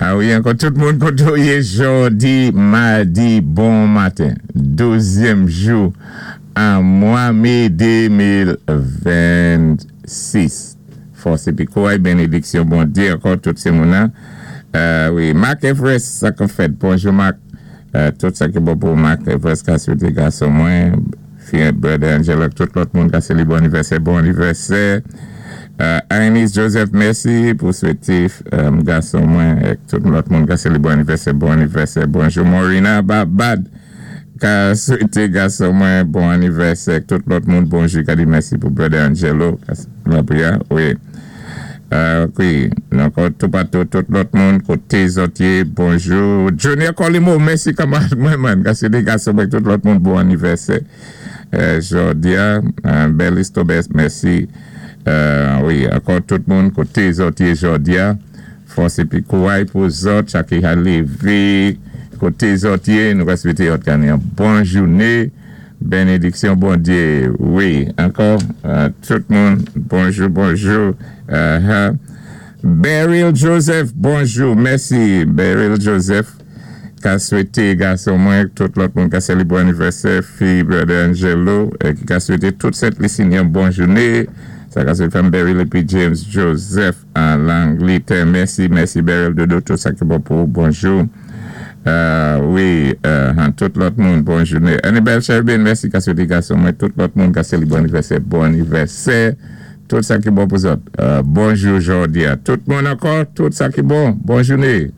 A wi, ankò tout moun koté ou yé jòdi, madi, bon maten. 12èm jou an mwa mé 2026. Fòs épi kouray, bénédiksyon Bondyé ankò tout sé moun an. Wi, Marc Everest, sa k fèt? Bonjou Marc. Tout sa ki bon pou Marc Everest ka swété gason mwen, fi brother Angelo, tout lòt moun ka sélébré anivèsè, bon anivèsè. Anis Joseph, mèsi pou swété gason mwen, tout lòt moun ka sélébré anivèsè, bon anivèsè. Bonjou Morina Babad, ka swété gason mwen bon anivèsè, tout lòt moun bonjou, ka di mèsi pou brother Angelo, la wi. Wi, ankò toupatou, tout lòt moun, koté zòt yé, bonjou. Junior Colimo, mèsi kanmarad mwen man, ka swété gason mwen tout lòt moun bon anivèsè. Jòdi a, bèl istobès, mèsi. Wi, ankò tout moun koté zòt yé jòdi a, fòs épi kouray pou zòt, chak ki ka lévé, koté zòt yé, nou ka swété zòt gagné yon bon jouné, bénédiksyon Bondyé, wi, ankò, tout moun, bonjou, bonjou. Beryl Joseph, bonjou, mèsi Beryl Joseph, ka swété gason mwen, tout lòt moun ka sélébré anivèsè, fi brother Angelo, ki ka swété tout Sent Lisi yon bon jouné, sa ka swété fanm Beryl épi James Joseph an Langlétè, mèsi, mèsi Beryl Dodo, tout sa ki bon pou bonjou. Wi, tout lòt moun, bon jouné. Annabelle Sherbin, mèsi ka swété gason mwen, tout lòt moun ka sélébré anivèsè, bon anivèsè. Tout sa ki bon pou zòt. Bonjou jòdi a. Tout moun ankò, tout sa ki bon, bon jouné.